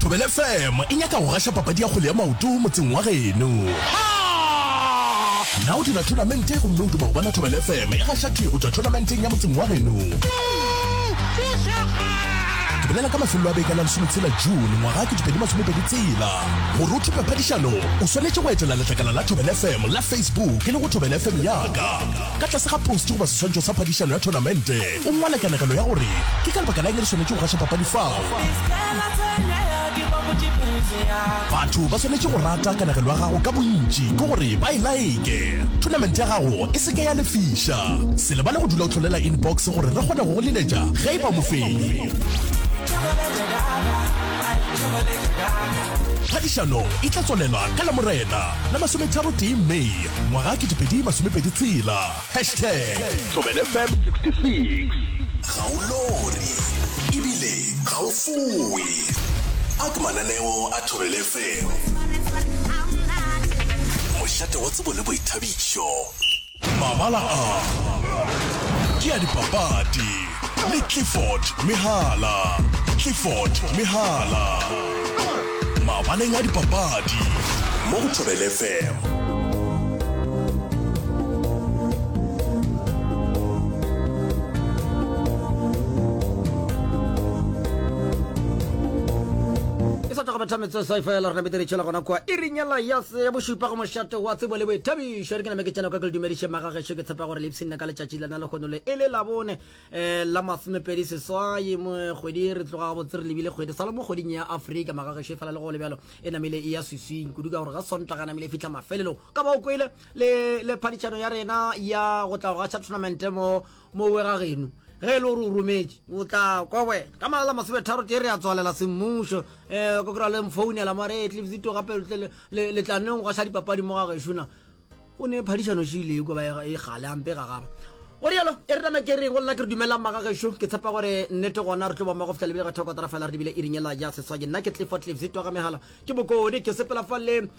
Thobela FM e nyaka go gaša papadi ya kgwele ya maoto motseng wa geno. Na o dira thonamente gomme o duma go bona Thobela FM e gaša thwi go tšwa thonamenteng ya motseng wa geno? Ke bolela ka mafelelo a beke a la lesometshela June ngwaga 2026. Gore o thope phadišano, o swanetše go etela letlakala la Thobela FM la Facebook e lego Thobela FM Ya Ka. Ka tlase ga post goba seswantšho sa phadišano ya thonamente, O ngwale kanegelo ya gore ke ka lebaka la eng re swanetše go gaša papadi fao. Batho ba swanetše go rata kanegelo ya gago ka bontši, ke gore ba e laeke. Thonamente ya gago e se ke ya lefiša. Se lebale go dula o hlolela inbox gore re kgone go go leletša ge e ba mofenyi. Phadišano e tla tswalelwa ka Lamorena la masometharotee May ngwaga 2026. Hashtag Thobela FM 66. Ga o lore ebile ga o fowe. A ke mananeo a Thobela FM. Mošate wa tsebo le boithabišo. Mabala a ke a dipapadi le Clifford Mehala. Clifford Mehala. Mabaleng a dipapadi mo go Thobela FM. E sa tšwa go betha metsotso e fela re namete re tšhela gona kua iring yela ya se ya bošupa go mošate wa tsebo le boithabišo. Re ke name ke tsena ka ke le dumediše magagešo ke tshepa gore le ipshinne ka letšatši lena lehono le e le labone um la masomepedi seswai mo kgwedi re tloga gabotse re lebile kgwedi sa le mo kgweding ya Afrika magagešo e fela le go le bjalo e namile e ya swiswing kudu ka gore ga Sontaga namile e fihla mafelelong ka ba o kwele le le phadišano ya rena ya go tla go gaša tournament mo mo we ga geno ge e le gore o rometše o tla kwa wena ka malala masometharo tee re ya tswalela semmušo um ko kry-a le mfounela mare e tlebsito gape le tla neng go gaša dipapadi mo ga gešo na o ne phadišano šile ko ba e gale ampe gagaba go rialo e re name ke reng go lena ke re dumelang magagešo ke tshepa gore nnete gona re tlo ba mmogo fihla lebile ga thoko tara fela re lebile iring ela ya seswai nna ke Clifford Cliffs twa ga megala ke bokone ke sepela fa le um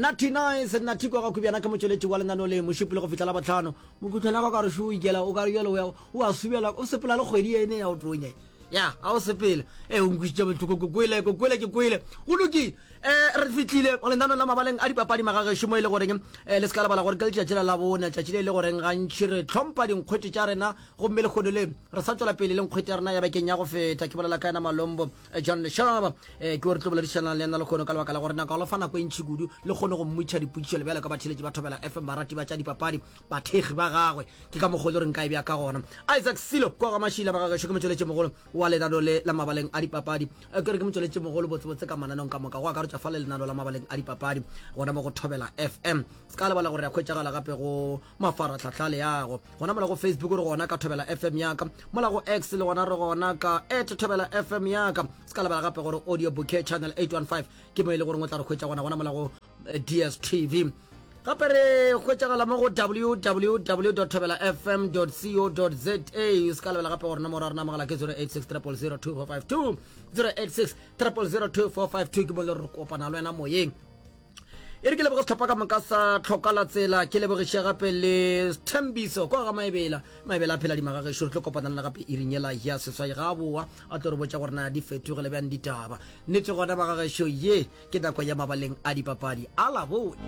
Natty Nice Natty kwa ga Kubjana ke motšweletši wa lenaneo le mošupologo go fihla la botlhano mokhutlwana ka ka re šo o ikela o ka re jalo o a subela o sepela le kgwedi ene ya o tonya ya a o sepele e o nkwisitše bohloko ke kwele ke kwele ke kwele go lokile um re fitlile lenanong la mabaleng a dipapadi magagešo mo e le goreng um le se ka lebala gore ke letšatši la labone letšatši le e le goreng gantši re tlhompha dinkgwete tša rena gomme lekgono le re sa tšwela pele le nkgwete ya rena ya bekeng ya go feta ke bolela ka yena malombo eh, john leshaba um ke o re tlo boledišanang le yena lekgono ka lebaka la gore nako lo fa nako e ntšhi kudu le kgone go mmutšha dipotšišo le bjalo ka batheletši ba thobela fm barati ba tša dipapadi bathekgi ba gagwe ke ka mokgwa o le re nka e bja ka gona isaac silo kwa ga mašila magagešo ke motšweletši mogolo wa lenano le la mabaleng a dipapadi eh, ke re ke motšweletši mogolo botsebotse ka mananong ka moka go akaretša fa le lenano la mabaleng a dipapadi gona mo go thobela fm se ka lebala gore ya khwetšagala gape go mafaratlhatlha leago gona mola go facebook re gona ka thobela fm yaka mola go x le gona re gona ka at thobela fm yaka se ka lebala gape gore audio bouquet channel 815 ke mo e le goreng o tla re khwetša gona gona mola go eh, dstv gape re hwetšagala mo go www thobela fm co za se ka lebela gape gore nomoro ya rena mogala ke 086 000 2452 086 000 2452 ke mo le re kopana le wena moyeng e re ke leboge setlhopha ka moka sa tlhoka la tsela ke lebogiše gape le thembiso kwa ga maebela maebela a phela dimagagešo re tlo kopana le gape iring yela ya seswai ga a boa a tlo re botša gore na di fetogele bjang ditaba nnete gona magagešo ye Ke nako ya mabaleng a dipapadi a Labone.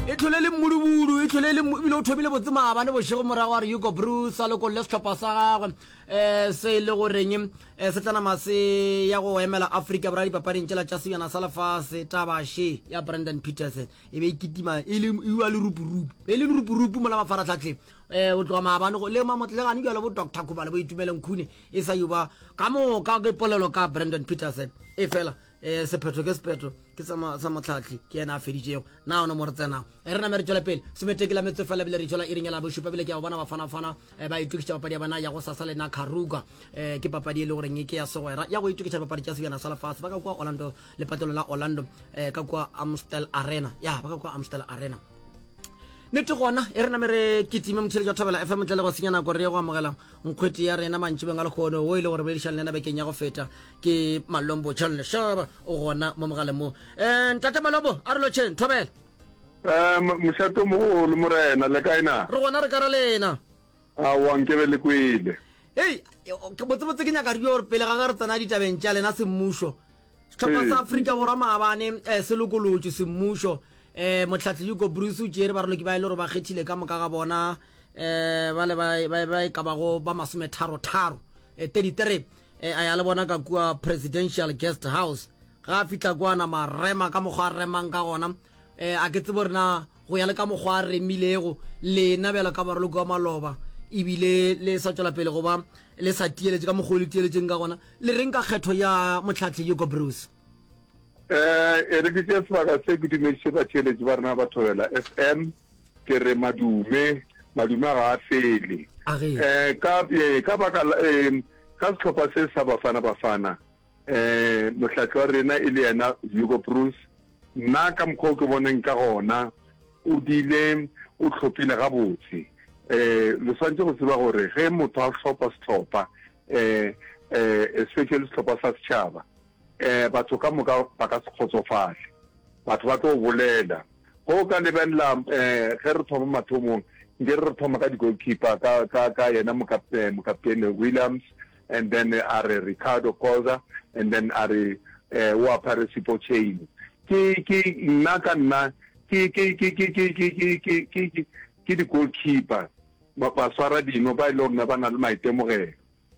E tlhole le mmuduburu, e tlhole le ebile o thomile botse maabane bošego morago a re Hugo Broos a lokolle sehlopha sa gagwe um se e le goreng um se tla nama se ya go emela Afrika Borwa dipapading tšela tša sebjana sa lefase. Taba še ya Brandon Petersen e be e kitima e le e wa lerupurupu, e le lerupurupu mola mafaratlhatlheng um go tloga maabane le mamotlegane bjalo bo Doctor Khumalo bo Itumeleng Khune e sa yo ba ka moka ke polelo ka Brandon Petersen e fela um sephetho ke sephetho ke sa motlhatli ke yena a feditšego na one mo re tsenago e re name re tšwele pele someteki la metso fela bile re tšwela iring ya la bošupa bile ke ya go bona bafanafana eh, ba itokišetša papadi ya bona ya go sasa le na kharuka um ke papadi e le goreng ke ya segwera ya go itokiša dipapadi tša sebjana sa lefase ba ka kua orlando lepatlelong la orlando um ka kua amstel arena ya ba ka kua amstel arena Nnete gona, e re name re kitime motheletši wa Thobela FM ntle le go senya nako re ye go amogela nkgwete ya rena mantšibeng a lekgono wo e le gore boledišang le yena bekeng ya go feta ke Malombo John Leshaba o gona mo mogaleng mo. Eh, ntate Malombo a re lotšheng Thobela. Eh, mošato mogolo morena le kae na? Re gona re ka ra lena. Aowa nkebe le kwele. Hei, botsebotse ke nyaka re gore pele ga ge re tsena ditabeng tša lena semmušo, sehlopha sa Afrika Borwa maabane eh, se lokolotšwe semmušo. Eh, mohlahli Hugo Broos o tšere baraloki ba e le gore ba kgethile ka moka ga bona eh, ba le ba, ba, ba e ka bago ba masometharo-tharo eh, 33 eh, a ya le bona ka kua Presidential Guest House. Ga a fihla kua nama rema ka mokgwa a remang ka gona. Eh, a ke tsebe gore na go ya le ka mokgwa a remilego lena bjalo ka baraloki wa maloba ebile le sa tšwela pele go ba le sa tieletše ka mokgwa o le tieletšeng ka gona le reng ka kgetho ya motlhatlhi Hugo Broos? Eh, e re ke tšee sebaka se ke dumediše batheeletši ba rena ba Thobela FM. Ke re madume, madume ga a fele. Eh, ka, eh, ka baka la, eh, ka sehlopha se sa Bafana Bafana, eh, mohlahli wa rena e le yena Hugo Broos, Nna ka mokgwa o ke boneng ka gona, o dile o hlophile gabotse. Um le swanetše go tseba gore ge motho a hlopha sehlopha, um um especially sehlopha sa setšhaba, um batho ka moka ba ka se kgotsofale. Batho ba tlo bolela. Ge o ka lebelela um ge re thoma mathomong, nke re re thoma ka di-goalkeeper, ka, ka, ka yena mokaptene Williams, and then a re Ricardo Khoza and then a re o apare Sipho Chaine. Ke ke nna ka nna ke ke ke ke ke ke ke ke ke ke ke di goalkeeper ba ba swara dino ba e le gore ba na le maitemogelo.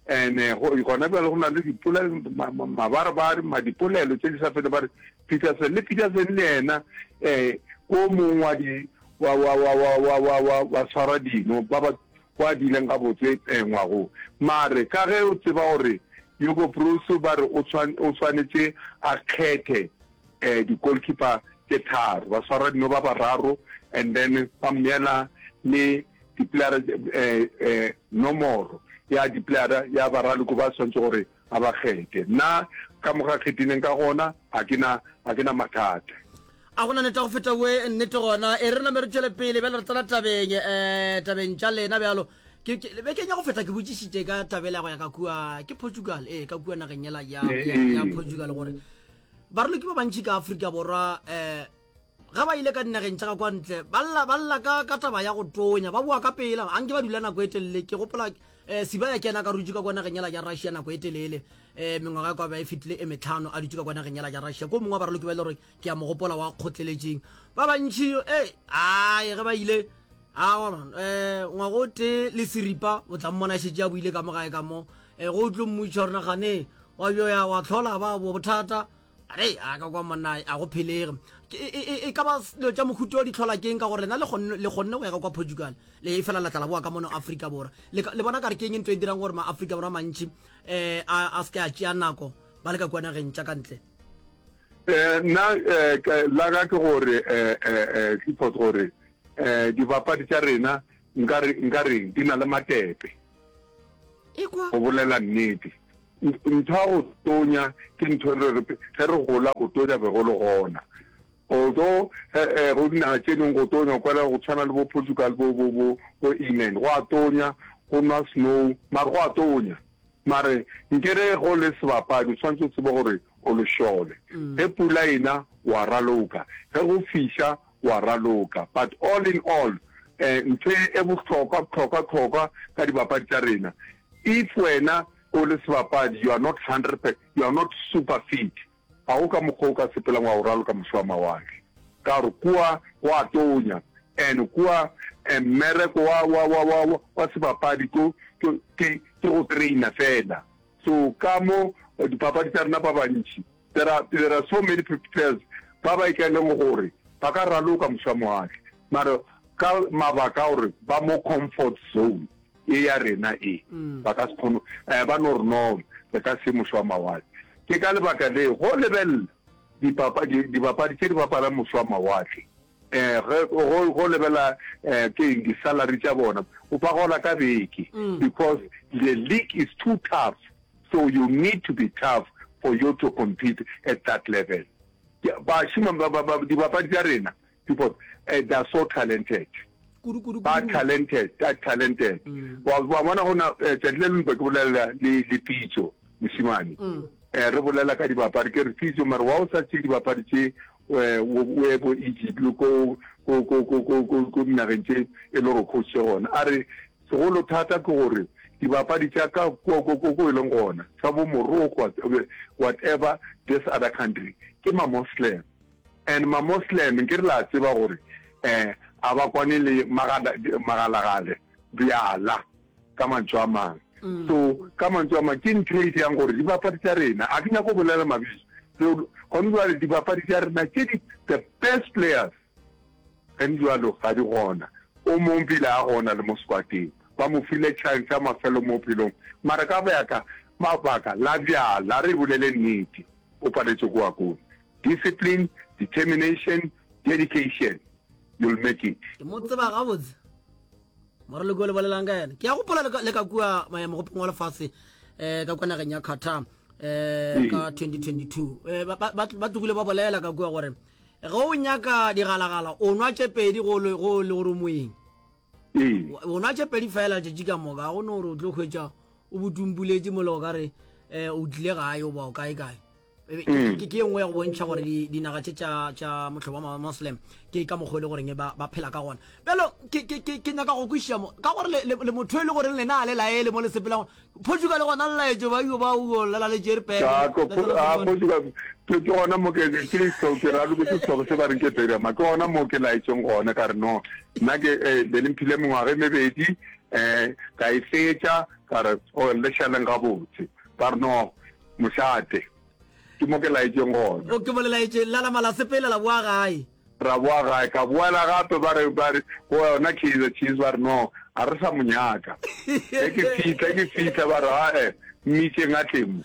And go gona bjale go na le dipolelo mabarebare ma dipolelo tše di sa fele ba re Peterson le Peterson le yena eh ko mongwe wa di wa wa wa wa wa wa wa wa swara dino ba ba Kwa dileng gabotse ngwago. Mare ka ge o tseba gore Hugo Broos ba re o o swanetše a kgethe di-goalkeeper tše tharo, baswaradino ba bararo and then ba mmeela le di-playera nomoro ya di-playera ya baraloko ba swanetše gore a ba kgethe. Nna ka mo ga kgethileng ka gona ga ke na ga ke na mathata. A gona nnete go feta we nnete gona. E re name re tšwele pele bjale re tsena tabeng eh tabeng tša lena bjalo. Ke ke bekeng ya go feta ke botšišitše ka tabela go ya ka kua ke Portugal eh ka kua nageng yela ya ya, ya Portugal gore baraloki ba bantši ka Afrika Borwa eh ga ba ile ka dinageng tša ka kwa ntle ba lla ba lla ka ka taba ya go tonya ba boa ka pela a nke ba dula nako e telele ke gopola um siba ya kena ka rutše ka kwa nageng yela ya russia nako e telele um mengwaga ya kwa ba e fetile e metlhano a dutše ka kwa nageng yela ya russia ko mongwe wa baraloki ba e le gore ke a mo gopola wa kgotleletšeng ba bantši e ae ge ba ile awa man um ngwago o tee le seripa o tla mmona šetše a buile ka mo gae ka mo um go o tlo mmutša gore nagane wa bjoya wa tlhola ba bo bothata Re a ka kwa monna a go phelege. E, e, e ka ba dilo tša mohuto di tlhola keng ka gore lena le kgonne le kgonne go ya ka kwa Portugal le e fela la tla la boa ka mono Afrika Borwa. Le, le bona ka re keng ntho e dirang gore ma Afrika Borwa mantši eh a, a se ke a tšea nako ba le ka kwa nageng tša ka ntle. Eh, nna eh, la ka ke gore eh, eh, eh, Clifford gore eh, dibapadi tša rena nka re nka reng di na le matepe. Ekwa. Go bolela nnete. Ntho ya go tonya ke ntho e re ge re gola go tonya be go le gona. Although go dinaga tše dingwe go tonya o kwela go tshwana le bo Portugal bo bo bo bo England go a tonya go nwa snow mare go a tonya. Mare nkere go le sebapadi o tshwanetse o tsebe gore o lešole. Ge pula ena wa raloka, ge go fiša wa raloka. But all in all ntho e bohlokwa hlokwa hlokwa ka dibapadi tša rena if wena o le sebapadi you are not hundred you are not super fit ga go ka mokgwa o ka sepelang wa go raloka moše wa mawatle ka gore kua go a tonya and kua mmereko wa wa wa wa wa sebapadi ko ke ke go trainer fela so ka mo dipapadi tša rena ba bantši There are, there are so many players ba ba ikaeleng gore ba ka raloka moše wa mawatle mara ka mabaka a gore ba mo comfort zone e ya rena e mm. ba ka se kgone eh, ba no re no re ka se moše wa mawatle ke ka lebaka le go lebelela dipapadi tše di bapalang moše wa mawatle um ge go lebela um ke eng di-salary tša bona o ba gola ka beke mm. because the league is too tough so you need to be tough for you to compete at that level bašima dibapadi tša rena because uh, they are so talented ba talented ba talented mm. wa bona go na eh, tšatši le lengwe ke bolela le le pitso mošimane mm. eh, re bolela ka dibapadi ke re pitso mare wa o sa tšee dibapadi tše eh, o ye ko Egypt le ko ko ko ko ko ko dinageng tše e le gore coach gona a re segolo thata ke gore. Dibapadi tša ka kua ko ko ko e leng gona, tša bo Morocco, whatever, this other country, ke ma-Moslem. And ma-Moslem, nke re la tseba gore um a ba kwane le magala, magalagale, bjala, ka mantšu a mang. So, ka mantšu a mang, ke ntho e dirang gore dibapadi tša rena, a ke nyake go bolela mabitso, so, gone jwale dibapadi tša rena tše di, the best players, Ge bjalo ga di gona. O mong bile a gona le mo squateng. Ba mo file chance ya mafelo mo bophelong. Mara ka baka mabaka la bjala re bolele nnete o paletše ko wa kone. Discipline, determination, dedication you'll make it. Ke mo tseba gabotse moraloki o le bolelang ka yena. Ke a gopola le ka kua mogopong wa lefase um ka kua nageng ya Qatar um ka 2022 um ba tlogile ba bolela ka kua gore Ge o nyaka digalagala, o nwa tše pedi go le go le gore o moeng. Ee. O nwa tše pedi fela letšatši ka moka, ga go no gore o tlo hwetša o botumpuletše mola o ka re eh, o tlile gae o ba o kae kae. E- Mm. Ke ke e nngwe ya go bontšha gore di- dinaga tše tša tša mohlobo wa Muslim ke ka mokgwa e le goreng ba ba phela ka gona. Bjalo ke ke ke ke nyaka go kwešiša mo ka gore le le le motho e le goreng lena a le laele mo le sepelang Portugal gona le laetšo ba yo ba o lela le tšere pele. Ka ko a Portugal ke ke gona mo ke ke so ke ra ke se se ba reng ke Berama ke gona mo ke laetšeng gona ka re no nna ke eh, be le mphile mengwaga e mebedi eh ka e fetša ka re o le šaleng gabotse ba re no mošate ke mo ke laetšeng gona. O ke mo le laetšeng la nama la sepela la boa gae. Ra boa gae, ka boela gape ba re, ba re, go yona Kaizer Chiefs ba re no, ga re sa mo nyaka. Ge ke fihla, ke fihla ba re ae, mmitšeng a tle mo.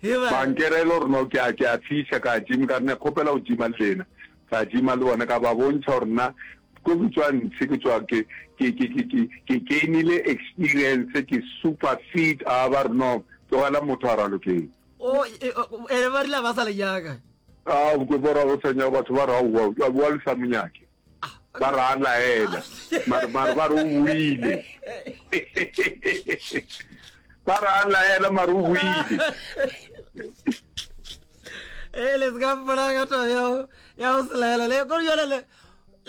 Ba nkerela gore no ke a, ke a fiša, ka gym, ka re ne kgopela go gyma le lena. Ka gyma le bona, ka ba bontšha gore nna ko ke tswa ntshe, ke tswa ke, ke, ke, ke, ke, ke gainile experience, ke super fit, a ba re no, tlogela motho a ralokeng. O, e, e, ba rile ba sa le nyaka. A ke bora go sa nyaka batho ba re aowa wa le sa monyake. Ba re a laela. Mare mare ba re o buile. Ba re a laela mare o buile. Eh le ska mpona ka taba ya ya go se laela le ko jale le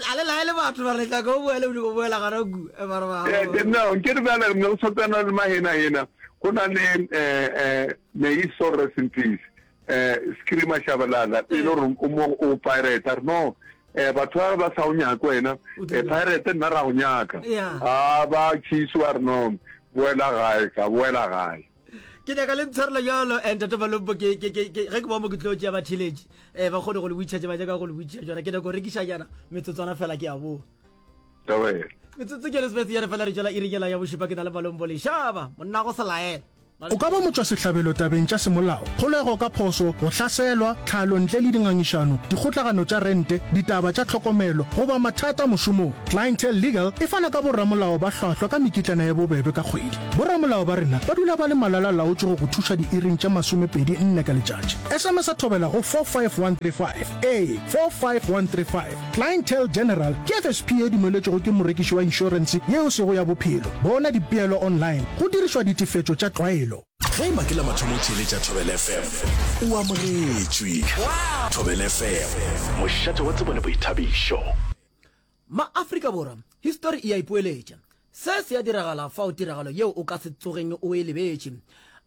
a le laele batho ba re tla go boela o go boela gana ku e ba re ba. Eh no ke re bjale ne go tsana le mahena hena go na le eh eh may his soul rest in peace. Eh, Screamer Shabalala, e le gore o mo o pirate, a re no, eh, batho ba ba sa o nyake wena, eh, pirate nna ra go nyaka. A ba Chiefs ba re no, boela gae, ka boela gae. Ke nyaka le ntshwarela bjalo, eh, Ntate Malompo, ke, ke, ke, ke, ge ke boa mo ke tlo tšea batheeletši, eh, ba kgone go le botšiša tše ba nyaka go le botšiša tšona. Ke nyaka go rekiša nyana metsotswana fela ke a boa. Tobela. Metsotso ke Elizabeth yane fela re tšwela iri yela ya bošupa ke na le Malombo Lešaba, monna go se laela. O ka ba motšwasehlabelo tabeng tša semolao, kgolego ka phoso, go hlaselwa, tlhalo ntle le dingangišano, dikgotlagano tša rente, ditaba tša tlhokomelo, goba mathata mošomong. Clientele Legal e fana ka boramolao ba hlwahlwa ka mekitlana ye bobebe ka kgwedi. Boramolao ba rena ba dula ba le malala-laotšwe go go thuša diiring tše 24 ka letšatši. SMS-a thobela go 45135. Ee, 45135. Clientele General ke FSP ye dumeletšwego ke morekiši wa inšorense yeo sego ya bophelo. Bona dipeelo online go dirišwa ditefetšo tša tlwaelo. Ge eba ke la mathomo o theeletša Thobela FM, o amogetšwe. Thobela FM, mošate wa tsebo le boithabišo. Ma-Afrika Borwa, histori e a ipoeletša. Se se a diragala fao tiragalo yeo o ka se tsogeng o e lebetše.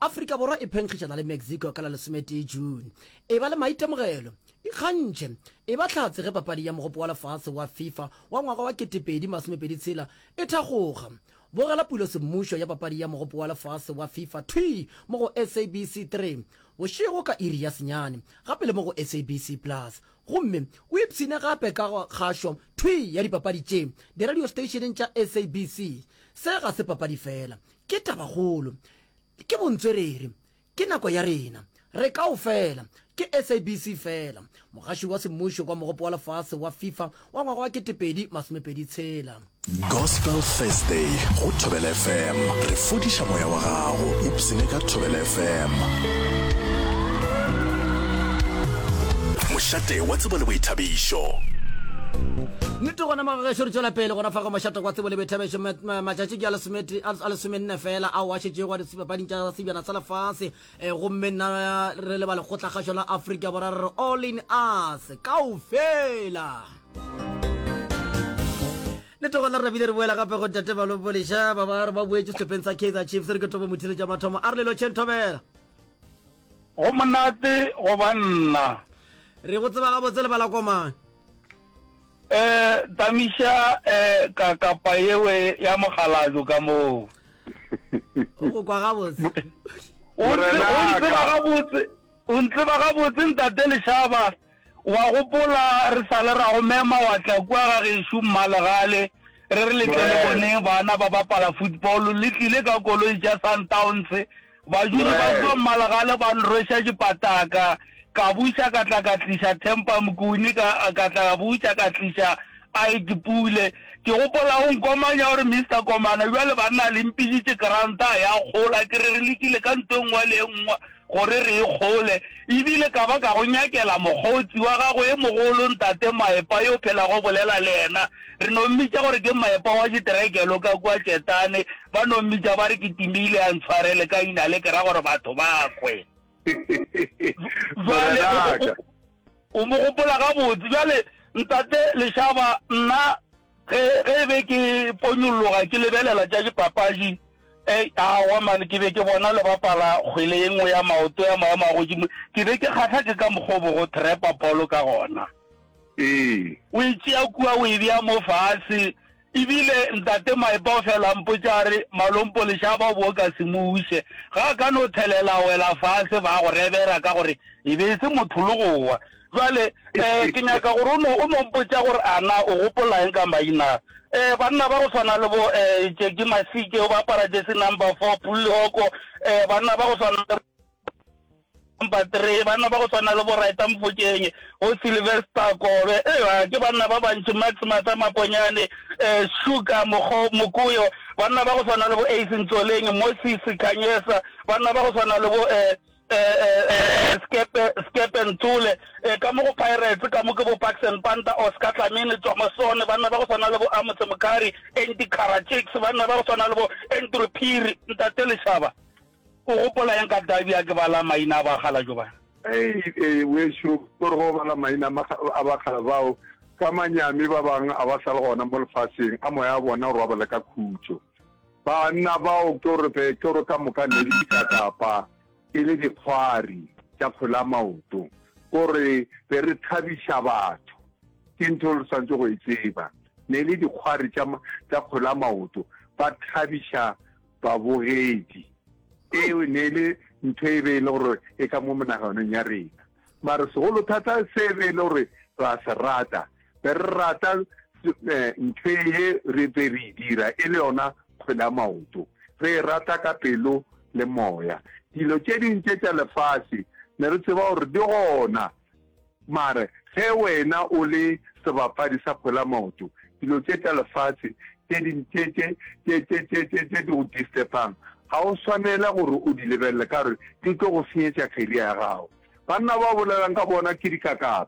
Afrika Borwa e phenkgišana le Mexico ka la lesometee June. Eba le maitemogelo. Ikgantšhe. Eba hlatse ge papadi ya Mogopo wa Lefase wa FIFA wa ngwaga wa 2026 e thakgoga. Bogela pulo semmušo ya papadi ya Mogopo wa Lefase wa FIFA thwii mo go SABC 3 bošego ka iri ya senyane, gape le mo go SABC Plus. Gomme o ipshine gape ka kgašo thwii ya dipapadi tše diradio steišeneng tša SABC. Se ga se papadi fela, ke tabakgolo. Ke bontswerere. Ke nako ya rena. Re kaofela. Ke SABC fela. Mogaši wa semmušo kwa Mogopo wa Lefase wa FIFA wa ngwaga wa 2026. Gospel Thursday go Thobela FM. Re fodiša moya wa gago. Ipsene ka Thobela FM. Mošate wa tsebo le boithabišo. Nnete gona magagešo re tšwela pele gona fa go mošate wa tsebo le boithabišo. Matšatši ke a lesomenne fela ao a šetšego a dipapading tša sebjana sa lefase. Gomme nna re le ba lekgotlakgašo la Afrika Borwa re re all in us kaofela. Le togona re bile re boela gape go Ntate Malompo Lešaba ba re ba boetše sehlopheng sa Kaizer Chiefs re ke thomo motheletša mathomo a re le lotšheng thobela. Go monate go ba nna. Re go tseba gabotse lebala komane. Eh tamiša eh ka kapa yewe ya mokgalabjo ka moo. O go kwa gabotse. O ntseba gabotse, o ntseba gabotse ntate Lešaba. Wa gopola re sa le ra go mema wa tla kua ga gešo Mmalegale, re re le tle le boneng bana ba bapala football, le tlile ka koloi tša Sundowns, Badudi ba kua Mmalegale ba nrweša dipataka, ka buša ka tla ka tliša Thempa Mokuni, ka ka tla ka buša ka tliša Ike Pule. Ke gopola o nkomanya o re Mister Komana bjale banna le mpiditše kranta ya kgola, ke re re lekile ka nto e nngwe le e nngwe gore re e kgole, ebile ka ba ka go nyakela mokgotsi wa gago e mogolo Ntate Maepa yo phelago bolela le yena, re no mmitša gore ke Maepa wa diterekelo ka kua Tšetane, ba no mmitša ba re ke timile a ntshwarele ka ina le ke ra gore batho ba kwe. Bjale o mo gopola gabotse. Bjale Ntate Lešaba nna Ge, ge e be ke ponyolloga ke lebelela tša dipapadi, e, aowa man, ke be ke bona le bapala kgwele ye nngwe ya maoto ya maemo a godimo, ke be ke kgahla ke ka mokgwa o bogo trepa polo ka gona. Ee. O e tšea kua o e bea mo fase. Ebile Ntate Maepa o fela a mpotša a re, Malompo lešaba o bo o ka se mo uše. Ga a ka no thelela a wela fase ba go rebera ka gore e be e se motho le go wa. Bjale, eh, ke nyaka gore o no, o no mpotša gore a na o gopola eng ka maina a. Eh, banna ba go swana le bo, eh, Jackie Masike, o bapala jersey number four, Pulli Hoko, eh, banna ba go swana le number three, banna ba go swana le bo Raita Mofokeng, bo Sylvester Kobe, eh, ke banna ba bantši, Max Matha Maponyane, eh, Sugar Mokgo, Mokoyo, banna ba go swana le bo Ace Ntsoleng, Moses Khanyesa, banna ba go swana le bo, eh, Skepe, Skepe Nthole, ka mo go Pirates, ka mo ke bo Parkson Panta, Oscar Tlamini, Tswamasone, banna ba go swana le bo Amos Mkhari, Andy Karajiks, banna ba go swana le bo Andrew Phiri, Ntate Lešaba, o gopola eng ka derby a ke bala maina a bakgalabje ba? Ei, ei, wešo, ko re go bala maina a bakgala bao, ka manyami ba bang a ba sa le gona mo lefaseng, a moya wa bona o robale ka khutšo. Banna bao ke gore be ke gore ka moka ne le dikakapa e le dikgwari tša kgwele ya maoto, kore be re thabiša batho. Ke ntho re swanetše go e tseba. Ne le dikgwari tša tša kgwele ya maoto, ba thabiša babogedi. Eo ne le ntho e be e le gore e ka mo menaganong ya rena. Mara segolo thata se be e le gore ra se rata, be re rata ntho ye re be re e dira e le yona kgwele ya maoto. Re e rata ka pelo le moya. Dilo tše ding tše tša lefase ne re tseba gore di gona, mare ge wena o le sebapadi sa kgwele ya maoto, dilo tše tša lefase tše ding tše tše tše tše tše tše tše di go disturbang ga o swanela gore o di lebelele ka gore di tlo go senyetša career ya gago. Banna ba o bolelang ka bona ke dikakapa.